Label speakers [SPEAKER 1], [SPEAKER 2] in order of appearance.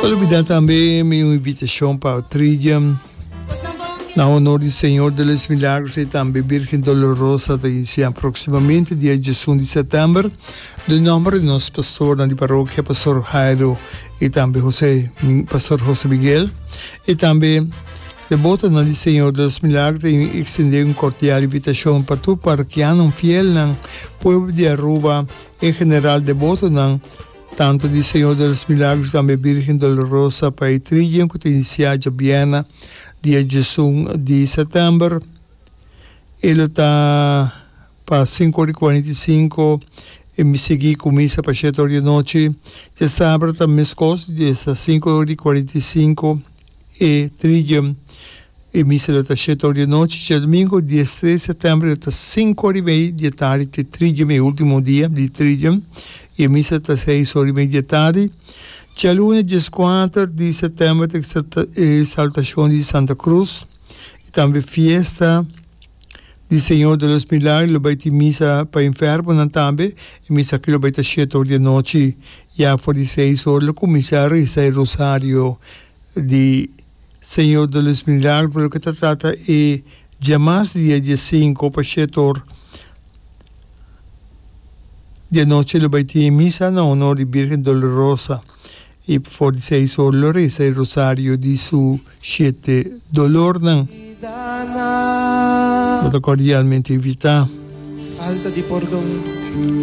[SPEAKER 1] Pa lubida tambe mi un invitacion pa Tridium na honor di Señor de los Milagros y tambe Virgen Dolorosa ta inicia proximamente dia 11 di september. Den nomber di nos pastornan di parokia, Pastor Jairo y tambe Jose, Pastor Jose Miguel y tambe debotonan di Señor de los Milagros ta extende un cordial invitacion pa tur parokianonan, fielnan, pueblo di Aruba en general debotonan tanto di Señor de los Milagros tambe Virgen Dolorosa pa e tridium cu ta inicia djabièrnè dia 11 di september. E lo ta pa sinku ora i kuarenta i sinku e mi sigui ku misa pa shete ora di anochi. Djasabra ta meskos, djesa sinku ora i kuarenta i sinku e tridium e misa lo ta shete ora di anochi. Djadumingu diestres sètèmber lo ta sinku ora i mei di e tardi te tridium e ultimo dia di tridium i e misa ta seis ora i mei di e tardi. Djaluna dieskuater di sètèmber ta e exaltashon di Santa Cruz. I tambe fiesta di Señor de los Milagros lo bai tin misa pa enfermonan tambe. E misa aki lo bai ta shete or di anochi. Ya for di seis or lo cuminsa reza e rosario di Señor de los Milagros. Pa loke ta trata e djamas dia diesinco pa shete or di anochi lo bai tin e misa na honor di Virgen Dolorosa. I for di seis or lo resa e rosario di su shete dolornan. Bo ta cordialmente invitá.
[SPEAKER 2] Falta di pordon.